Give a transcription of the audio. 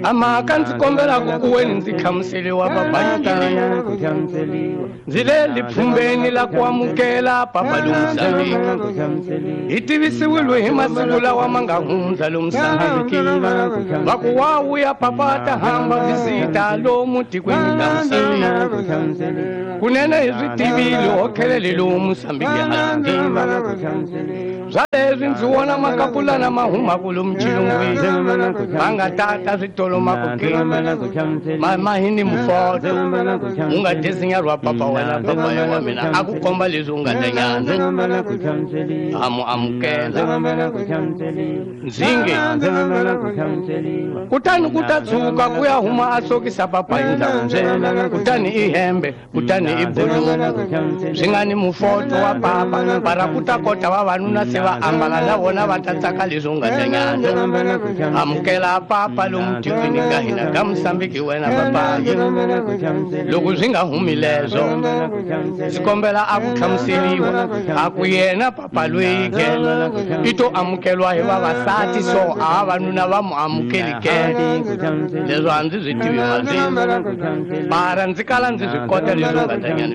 A mhaka ndzi kombelaku ku weni ndzi hlamuseliwa papayi ndzi le lipfhumbeni la ku amukela papa lomusambiki hi tivisiwile hi masiku lawa ma nga hundza lomusambiki va ku wa vuya papa ta hamba visita lomu tikweni la Musambiki kunene hi swi tivile ho khelele lomu Musambiki hala swa leswi ndzi vona makapulana ma humaku lomu xilungwini ma nga tata switolo ma ku ke ma hi ni mufoto u nga desinyarwa papa wena papa ya wa mina a ku komba leswi u nga danyana a mu amukela ndzinge kutani ku ta tshuka ku ya huma a sokisa papa hi ndhawu kutani i hembe kutani i buluku swi nga ni mufoto wa papa para ku ta kota vavanuna se va ambala na vona va ta tsaka leswi u nga danyana amukela papa lomu tikweni ka hina ka Musambiki wena papayi loko swi nga humi leswo ndzi kombela a ku hlamuseriwa a ku yena papa loyi ke i to amukelwa hi vavasati so a vavanuna va mu amukeli ke leswo a ndzi swi tivi mazwi mara ndzi kala ndzi swi kota leswi u nga danyana.